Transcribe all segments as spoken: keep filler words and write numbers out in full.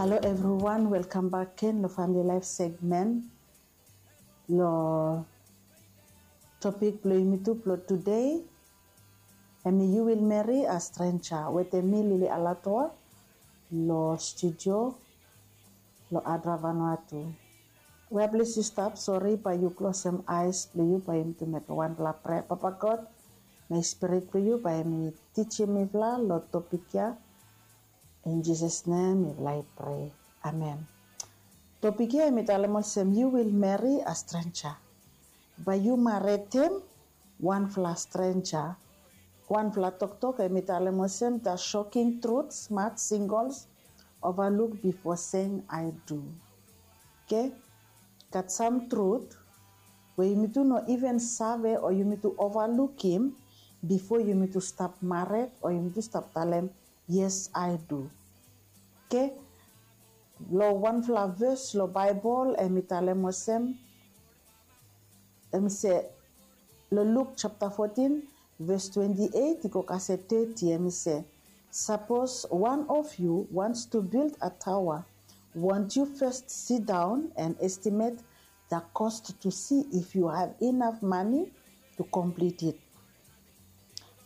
Hello everyone, welcome back again lo Family Life segment. Lo topik blo yumi tu blo today, hemi You Will Marry a Stranger, wetem mi Lily Alatoa lo studio lo Adra Vanuatu. We a ples yu stap, sori bae yu klosem aes blo yu, bae yumi tu mekem wanfala prea. Papa God, Holi Spirit blo yu bae hemi tijim mifala lo topik ya. In Jesus' name mifala i prea. Amen. Topik ya hemi talem olsem, You Will Marry a Stranger. Bae yu maretem wanfala stranger. Wanfala toktok hemi talem olsem, The Shocking Truths Most Singles Overlook Before Saying I Do. Oke? Gat sam trut we yumitu no iven save o yumitu ovalukim bifo yumitu stap mared o yumitu stap talem, "Yes, I do." Oke? Lo wanfala ves lo Baebol hemi talem olsem, hemi se, lo Luk japta fotin, ves twenti eit i go kasem teti, hemi se, "Sapos wan of yu wants to build a tower, won't you first sit down and estimate the cost to see if you have enough money to complete it?"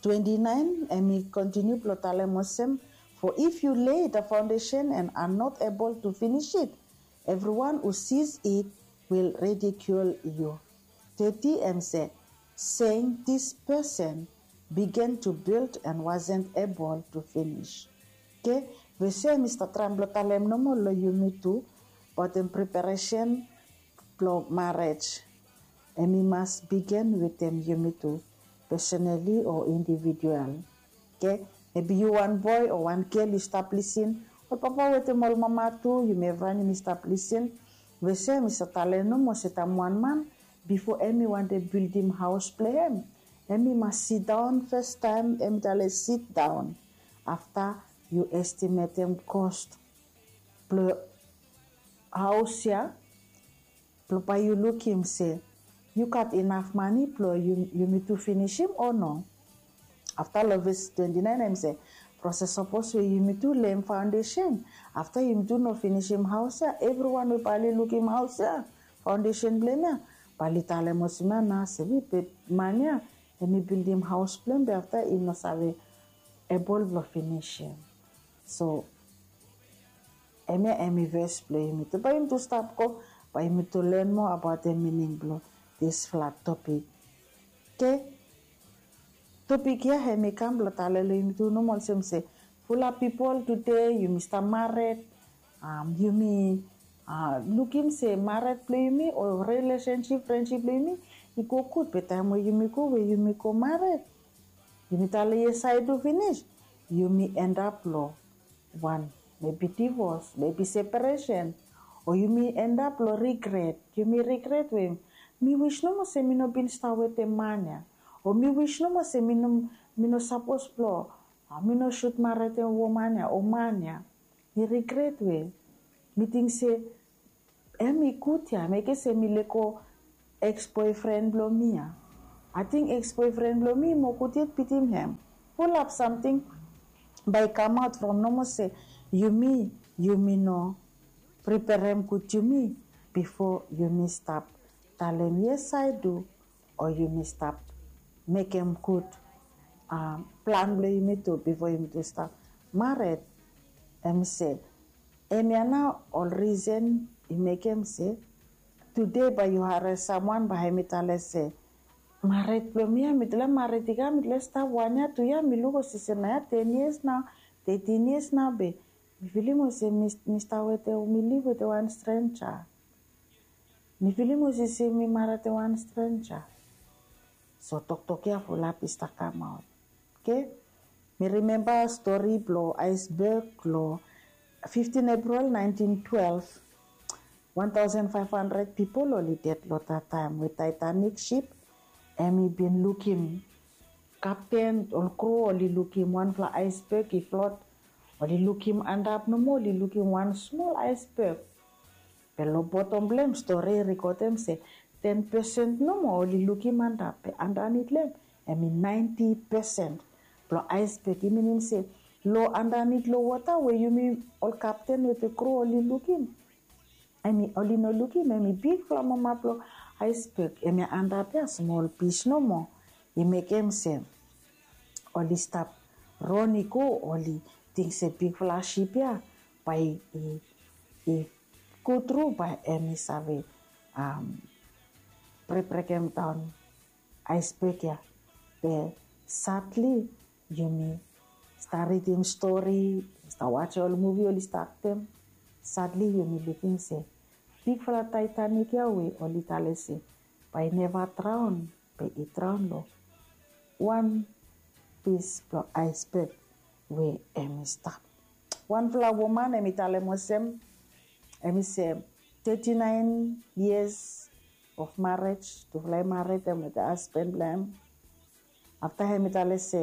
Twenti naen, hemi kontiniu blo talem olsem, "For if you lay the foundation and are not able to finish it, everyone who sees it will ridicule you." Teti hemi se, "Saying this person began to build and wasn't able to finish." Oke? Ves ya hemi stap traem blo talem nomo lo yumitu abaot preparesen blo marej. Hemi mas bigin wetem yumitu, personally o individual. Oke? Maybe yu wan boe o wan gel yu stap lisin, ol papa wetem ol mama tu, yumi evriwan yumi stap lisin. Ves ya hemi stap talem nomo se taem wan man, bifo hemi wantem bildim haos blo hem, hemi mas sidaon fastaem, hemi talem sidaon. Afta yu estimetem cost blo haos ya, blo bae yu lukim se yu gat inaf mane blo yumitu finisim o no. Afta lo ves twenti naen hemi se, proses sapos we yumitu lem faondesen, afta yumitu no finisim haos ya, evriwan we bae oli lukim haos ya, faondesen blo hem ya, bae oli talem olsem ya nao se, be man ya hemi bildim haos blo hem be afta i no save ebol blo finisim. So hemia hemi ves blo yumitu. Bae yumitu stap go, bae yumitu len moa abaot the meaning blo disfala topik. Oke? Topik ya hemi kam blo talem lo yumitu nomo olsem se, fulap pipol tede yumi stap mared, yumi lukim se mared blo yumi o relesensip, frensip blo yumi i go gud, be taem we yumi go, we yumi go mared, yumi talem yes I do finis, yumi endap lo wan, maybe divos, maybe separesen, o yumi endap lo rigret. Yumi rigret we mi wis nomo se mi no bin stap wetem man ya, o mi wis nomo se mi no, mi no sapos blo, mi no sud maretem woman ya o man ya. Mi rigret we mi ting se hemi gud ya, mekem se mi lego eks boefren blo mi ya. Ating eks boefren blo mi i moa gud yet bitim hem. Fulap samting bae i kamaot from nomo se yumi, yumi no preperem gud yumi bifo yumi stap talem yes I do, o yumi stap mekem gud plan blo yumitu bifo yumitu stap mared. Hemi se, hemia nao ol risen i mekem se tede bae yu harem samwan bae hemi talem se, mared blo mi ya, mi tale mared i kam, mi tale stap wan yia, tu yia, mi luk olsem se nao ya ten yias nao, tetin yias nao, be mi filim olsem mi stap wetem, mi liv wetem wan strenja. Mi filim olsem se mi mared wetem wan strenja. So toktok ya fulap i stap kamaot. Oke? Mi rimemba stori blo aesbek lo fiftin Epril naentin twelef. Wan taosen faef handred pipol oli ded lo that taem we Taetanik sip hemi bin lukim, kapten, ol kru oli lukim wanfala aesbek i flot. Oli lukim antap nomo, oli lukim wan smol aesbek. Be lo botom blo hem stori i rekodem se ten pesen nomo oli lukim antap, be andanit lo hem hemi naenti pesen blo aesbek. I minim se lo andanit lo wota we yumi ol kapten we te kru oli lukim. Em i oli no lukim em i bigfala mama blong aisbek em i antap ya smol pis nomo. I mekem se oli stap ron i go, oli ting se bigfala sip ya bae i, i go tru bae em i save um, brekbrekem daon aisbek ya. Be sadli yumi stap ridim stori, stap wajem ol muvi oli stap aktem. Sadli yumi lukim se bigfala Taitanik ya we oli talem se bae i neva draon be i draon lo wan pis blong aisbek we em i stap. Wanfala woman em i talem olsem, em i se thirty-nine years of marriage, tufala i mared em wetem hasben blong em. Afta em i talem se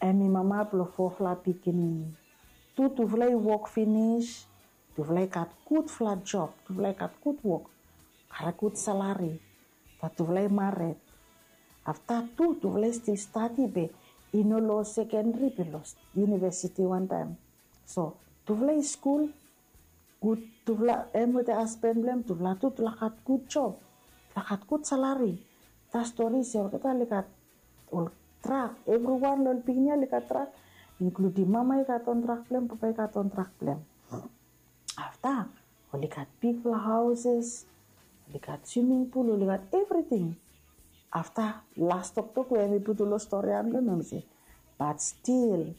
em i mama blong fofala pikinini. Tu tufala i wok finis, tufala i gat gudfala job, tufala i gat gud wok, gat gud salari. Bat tufala i mared. Afta tu tufala i stil stadi be i no lo sekendri be lo yunivesiti wantaem. So tufala i skul gud, tufala em wetem hasben blong em tufala tu tufala gat gud job, tufala gat gud salari. Tufala stori se olgeta oli gat ol drak, evriwan lo ol pikinini ya oli gat drak, inkludim mama i gat on drak blong em, papa i gat on drak blong em. Afta oli gat bigfala hauses, oli gat swiming pul, oli gat evriting. Afta las toktok we em i putum lo stori ya blong em se, but still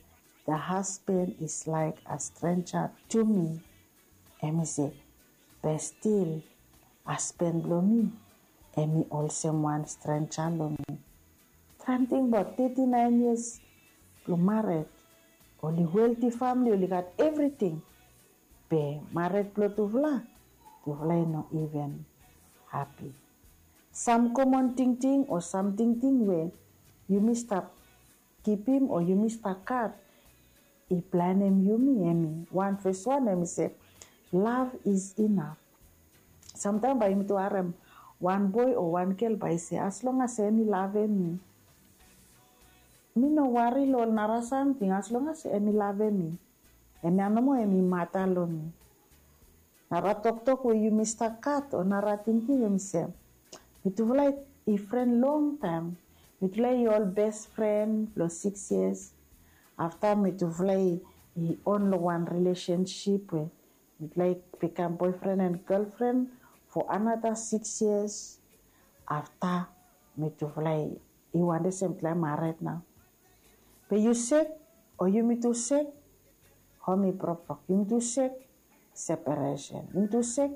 the husband is like a stranger to me. Em i se, be stil hasben blong mi em i olsem wan strenja long mi. Traem tingbaot thirty-nine years blong mared, oli welti famili, oli gat evriting. Be mared blong tufala, tufala i no iven hapi. Sam komon tingting o sam tingting we yumi stap kipim o yumi stap gat i blanem yumi, em i wan fes wan em i se love is enough. Samtaem bae yumi tu harem wan boe o wan gel bae i se as long as em i lavem mi, mi no wari long ol nara samting, as long as em i lavem mi, em ya nomo em i mata long mi. Nara toktok we yumi stap gat o nara tingting em i se, mitufala i fren longtaem. Mitufala i ol bes fren blong six years. Afta mitufala i on long wan rilesensip we mitufala i bikam boefren and gelfren fo anata six years. Afta mitufala i wantem se mitufala i mared nao. Be yu sek o yumi tu sek, hom i brokbrok, yumi tu sek, separesen, yumi tu sek,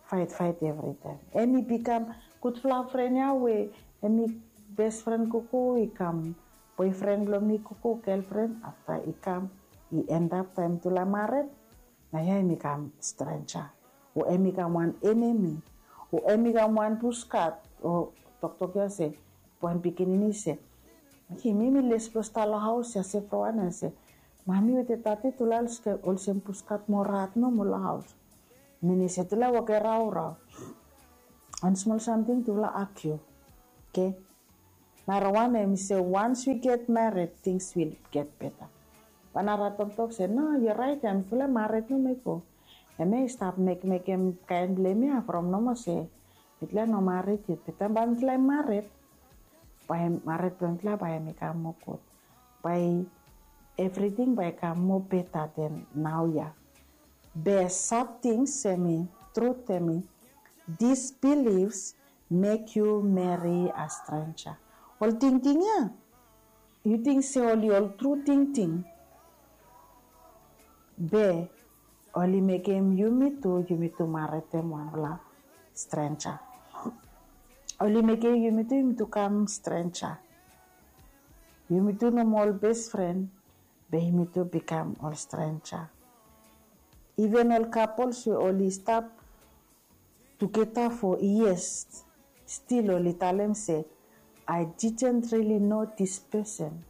faetfaet evritaem. Em i bikam gudfala fren ya we em i bes fren gogo i kam boefren blong mi, gogo gelfren, afta i kam i endap taem mitufala mared, naoia em i kam strenja o em i kam wan enemi o em i kam wan puskat o toktok ya se, wan pikinini se, okay, mi mi les blong stap long haos ya se fo wan ya se, mami wetem dadi tufala olsem puskat mo rat nomo long haos. Mini se tufala i woke raorao. Wan smol samting tufala agiu. Okay. Nara wan em i se once we get married things will get better. Bae nara toktok se no, yu raet ya, mitufala i mared nomo i go. Hemia i stap mekmekem kaen blong hemia from nomo se mitufala i no mared yet, be taem bae mitufala i mared, bae mared blong mitufala bae hem i kam moa gud. Bae evriting bae i kam moa beta den naoia. Be sad things hemi, trut hemi, disbeliefs make you marry a stranger. Ol tingting ya yu ting se oli ol tru tingting, be oli mekem yumitu, yumitu maredem wanfala strenja. Oli mekem yumitu, yumitu kam strenja. Yumitu nomo ol bes fren, be yumitu bikam ol strenja. Iven ol kapols we oli stap tugeta fo yias, stil oli talem se, I didn't really know this person.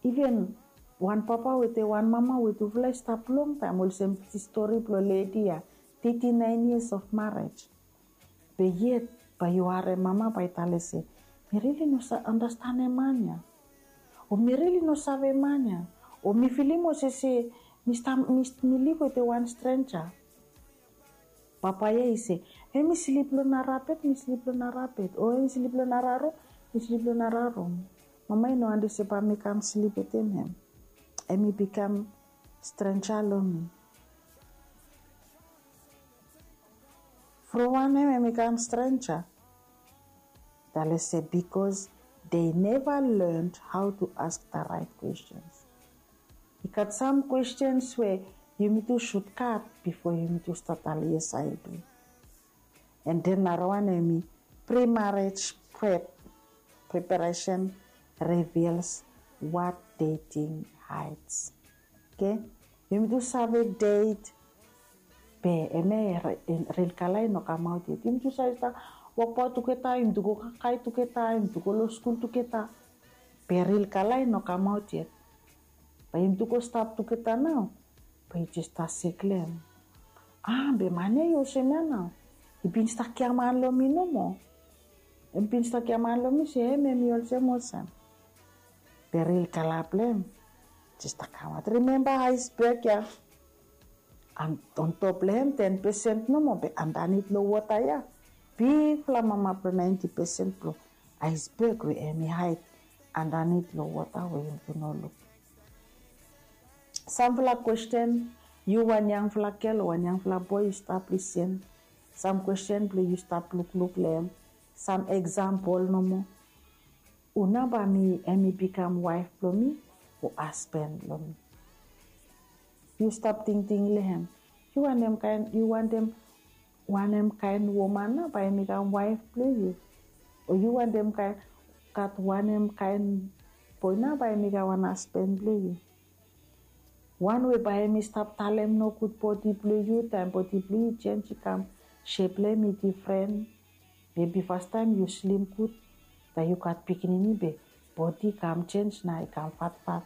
Iven wan papa wetem wan mama we tufala i stap longtaem, olsem stori blong ledi ya, thirty-nine years of marriage. Be yet bae yu harem mama bae i talem se, mi rili no save andastanem man ya. O mi rili no save man ya. O mi filim olsem se mi stap mi, mi liv wetem wan strenja. Papa ya i se, hemi slip long nara bed, mi slip long nara bed. O hemi slip long nara rum, mi slip long nara rum. Mama i no wantem se bae mi kam slip wetem hem. Hemi bikam strenja long mi. From wanem hemi kam strenja? Talem se because they never learned how to ask the right questions. I gat sam questions we yumi tu should gat before yumi tu stap talem yes, I do. And then nara wan hemi pre-marriage prep, preparation reveals what dating hides. Okay? Yumi tu save date, be hemia ril kala i no kamaot yet. Yumi tu save stap wokbaot tugeta, yumi tu go kakae tugeta, yumi tu go long skul tugeta. Be ril kala i no kamaot yet. Bae yumi tu go stap tugeta nao. Bae yu jes stap sek long hem. A, be man ya i olsem ya nao. I bin stap giaman long mi nomo. I bin stap giaman long mi se hem, hem i olsem olsem. Be ril kala blong hem jes stap kamaot. Rimemba aisbeg ya. Antop long hem ten pesen nomo, be andanit long wota ya bigfala mama blong naenti pesen blong aisbeg we hemi haed andanit long wota we yumi tu no luk. Samfala kwesten, yu wan yangfala gel o wan yangfala boe yu stap lisin. Sam kwesten blong yu stap lukluk long hem. Sam eksampol nomo. Hu nao bae hemi bikam waef blong mi o hasben blong mi? Yu stap tingting long hem. Yu wantem kaen, yu wantem wanem kaen woman nao bae hemi kam waef blong yu? O yu wantem kaen, gat wanem kaen boe nao bae hemi kam wan hasben blong yu? Wan we bae hemi stap talem nogud bodi blong yu, taem bodi blong yu i jenj, i kam, sep blong hem i difren. Mebi fastaem yu slim gud, taem yu gat pikinini be bodi i kam jenj nao i kam fatfat.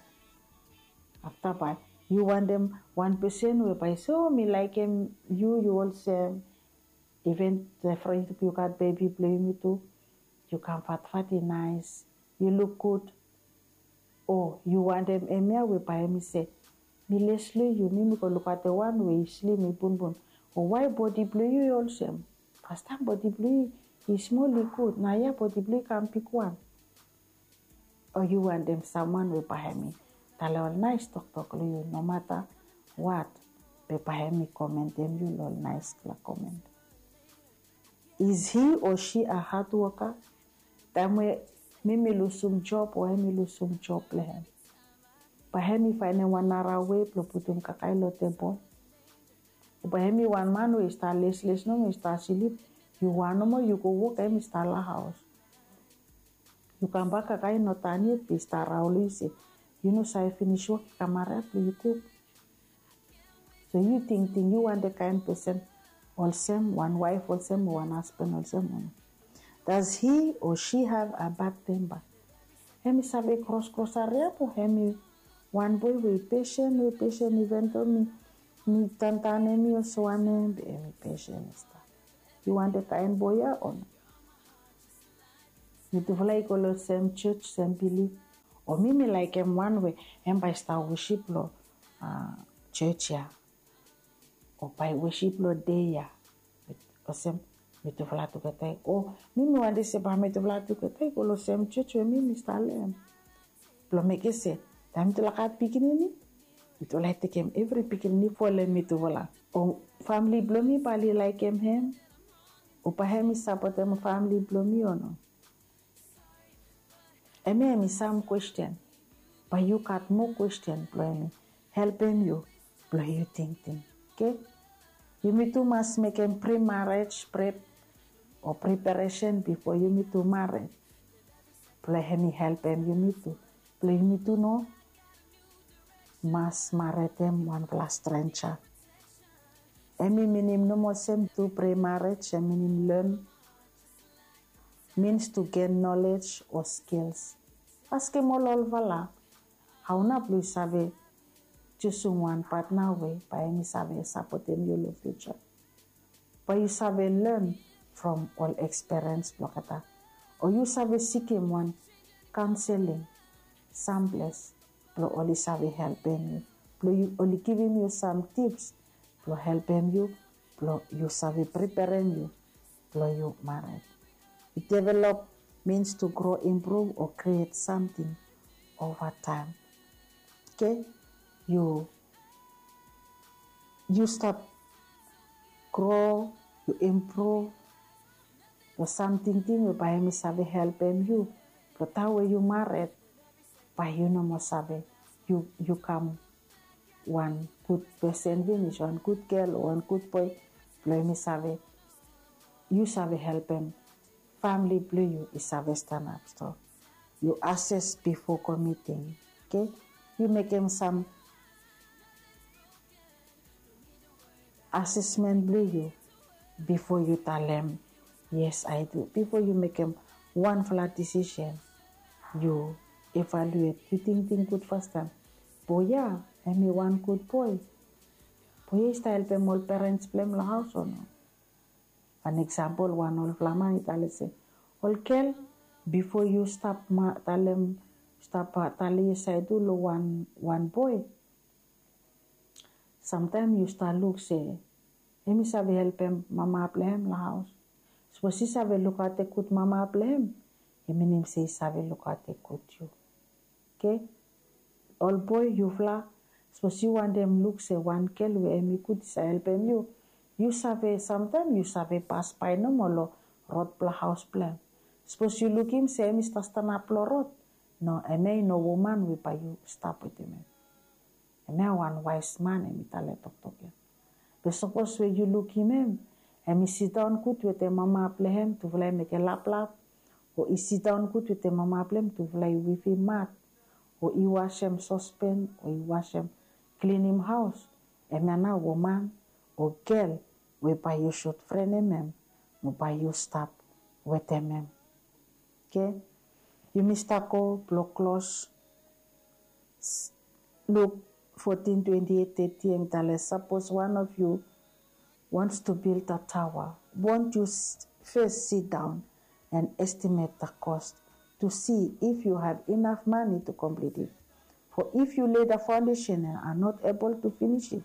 Afta bae yu wantem wan pesen we bae i se, o, mi laekem yu, yu olsem. Iven from yu gat bebi blong yumi tu, yu kam fatfat, i naes, yu luk gud. O yu wantem hemia we bae hemi se, mi les long yu, mi mi go lukaotem wan we i slim, i bunbun. O wae bodi blong yu i olsem? Fastaem bodi blong yu i smol, i gud, naoia bodi blong yu i kam bigwan. O yu wantem samwan we bae hemi talem ol naes toktok long yu nomata wat, be bae hemi komentem yu long ol naesfala komen. Is he or she a hard worker? Taem we mi mi lusum job o hemi lusum job blong hem, bae hemi faenem wan nara wei blong putum kakae long tebol? O bae hemi wan man we i stap lesles nomo, i stap slip? Yu wan nomo yu go wok, hemi stap long haos. Yu kambak, kakae i no tan yet be i stap raon long yu se yu no save finis wok, i kam hariap blong yu kuk. So yu tingting yu wantem kaen pesen olsem, wan waef olsem o wan hasben olsem o no? Does he or she have a bad temper? Hemi save kroskros hariap o hemi wan boe we i pesen, we i pesen, iven do mi, mi tantan hemi olsem wanem be hemi pesen i stap? Yu wantem kaen boe ya o no? Mitufala i go long sem jos, sem bilif. O mi mi laekem wan we hem bae i stap wosip long jos ya. O bae i wosip long dei ya. Olsem mitufala tugeta. O mi mi wantem se bae mitufala tugeta i go long sem jos we mi mi stap long hem. Blong mekem se taem mitufala gat pikinini, mitufala i tekem evri pikinini folem mitufala. O famili blong mi bae oli laekem hem? O bae hem i sapotem famili blong mi o no? Hemia hemi sam kwesten. Bae yu gat moa kwesten blong hemi helpem yu blong yu tingting. Oke? Yumi tu mas mekem pre-marriage prep o preparesen bifo yumi tu mared. Blong hemi helpem yumi tu blong yumi tu no mas maredem wanfala strenja. Hemi minim nomo olsem tu pre-marriage, hemi minim learn means to gain knowledge o skills. Askem ol olfala, hao nao blong yu save jusum wan patna we bae hemi save sapotem yu long fiuja? Bae yu save learn from ol ekspiriens blong olgeta, o yu save sikem wan kaonseling samples blong oli save helpem yu, blong yu oli givim yu sam tips blong helpem yu blong yu save preperem yu blong yu mared. Yu develop means to grow, improve o create samting ova taem. Oke, yu yu stap grow, yu improve long sam tingting we bae hemi save helpem yu blong taem we yu mared, bae yu no moa save, yu kam wan gud pesen finis, wan gud gel o wan gud boe blong hemi save, yu save helpem famili blong yu i save stanap. So yu assess before committing. Oke, yu mekem sam assessment blong yu bifo yu talem yes, I do. Bifo yu mekem wanfala decision, yu evaluate, yu tingting gud fastaem. Boe ya hemi wan gud boe? Boe ya i stap helpem ol parents blong hem long haos o no? Wan example, wan olfala man i talem se, ol gel, bifo yu stap talem, stap talem yes, I do long wan boe, samtaem yu stap luk se hemi save helpem mama blong hem long haos. Sapos i save lukaotem gud mama blong hem, i minim se i save lukaotem gud yu. Oke, ol boe, yufala, sapos yu wantem luk se wan gel we hemi gud i save helpem yu, yu save, samtaem yu save pasbae nomo long rod blong haos blong hem. Sapos yu lukim se hemi stap stanap long rod, no, hemia i no woman we bae yu stap wetem hem. Hemia wan waes man hemi talem toktok ya. Be sapos we yu lukim hem, hemi sidaon gud wetem mama blong hem, tufala i mekem laplap, o i sidaon gud wetem mama blong hem, tufala i wifim mat, o i wasem sospen, o i wasem, klinim haos, hemia nao woman o gel we bae yu sud frenem hem, mo bae yu stap wetem hem. Oke, yumi stap go blong klos. Luke fourteen twenty-eight thirty, hemi talem, sapos one of you wants to build a tower, won't you first sit down and estimate the cost to see if you have enough money to complete it? For if you lay the foundation and are not able to finish it,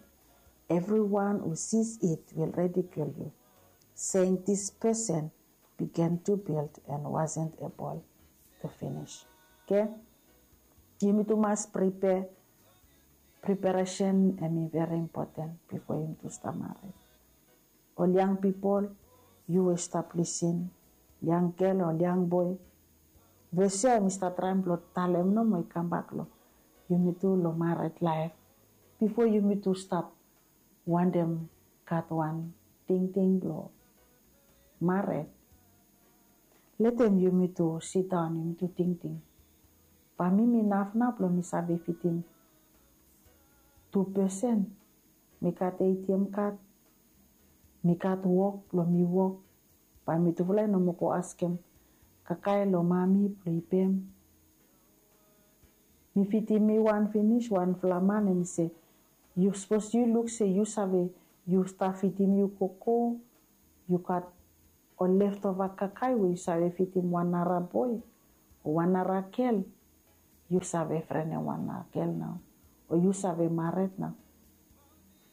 everyone who sees it will ridicule you, saying, this person began to build and wasn't able to finish. Oke, yumi tu mas prepare. Preparation hemi very important bifo yumi tu stap mared. Ol yang pipol, yu we stap lisin, yang gel o yang boe, ves ya hemi stap traem blong talem nomo i kambak long yumi tu long mared laef. Bifo yumi tu stap wantem gat wan tingting blong mared, letem yumi tu sidaon, yumi tu tingting, bae mi mi naf nao blong mi save fidim tu pesen? Mi gat ATM card, mi gat wok blong mi wok, bae mitufala i no moa go askem kakae long mami blong i pem. Mi fidim mi wan finis, wanfala man hemi se, yu sapos yu luk se yu save, yu stap fidim yu gogo, yu gat ol leftova kakae we yu save fidim wan nara boe o wan nara gel, yu save frenem wan nara gel nao, o yu save mared nao,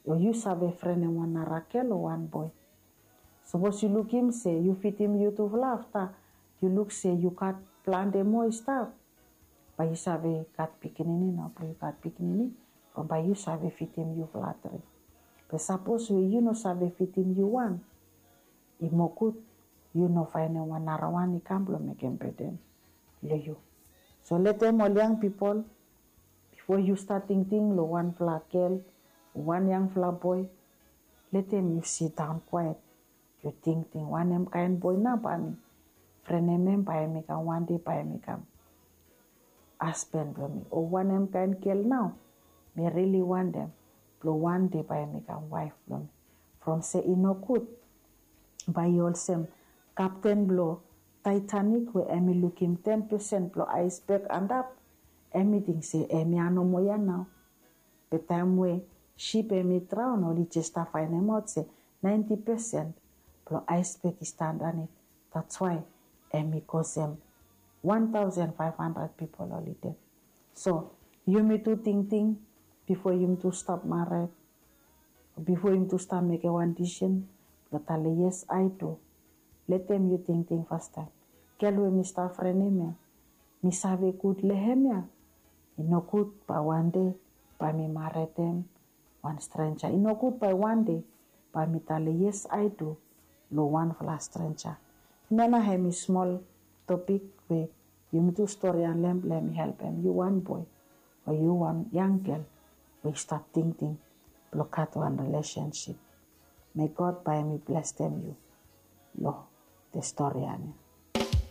o yu save frenem wan nara gel o wan boe. Sapos yu lukim se yu fidim yutufala, afta yu luk se yu gat plante moa i stap, bae yu save gat pikinini nao, blong yu gat pikinini, from bae yu save fidim yufala tri. Be sapos we yu no save fidim yu wan, i moa gud yu no faenem wan narawan i kam blong mekem beden long yu. So letem ol yang pipol, bifo yu stat tingting long wanfala gel o wan yangfala boe, letem yu sidaon kwaet, yu tingting, wanem kaen boe nao bae mi frenem hem, bae hemi kam wan dei, bae hemi kam hasben blong mi, o wanem kaen gel nao mi rili wantem blong wan dei bae hemi kam waef blong mi. From se i nogud bae yu olsem kapten blong Titanic we hemi lukim ten pesen blong aesbeg antap, hemi ting se hemia nomo ya nao. Be taem we sip hemi draon, oli jes stap faenemaot se naenti pesen blong aesbeg i stap andanit. That's why hemi kosem wan taosen faef handred pipol oli ded. So yumi tu tingting bifo yumi tu stap mared, bifo yumi tu stap mekem wan disisen blong talem yes, I do. Letem yu tingting fastaem, gel we mi stap frenem ya, mi save gud long hem ya. I nogud bae wande bae mi maredem wan strenja. I nogud bae wande bae mi talem yes, I do long wanfala strenja. Hemia nao hem i smol topik we yumi tu storian long hem blong hem i helpem yu wan boe o yu wan yang gel we i stap tingting blong gat wan rilesensip. Me God bae hem i blesem yu long storian ya.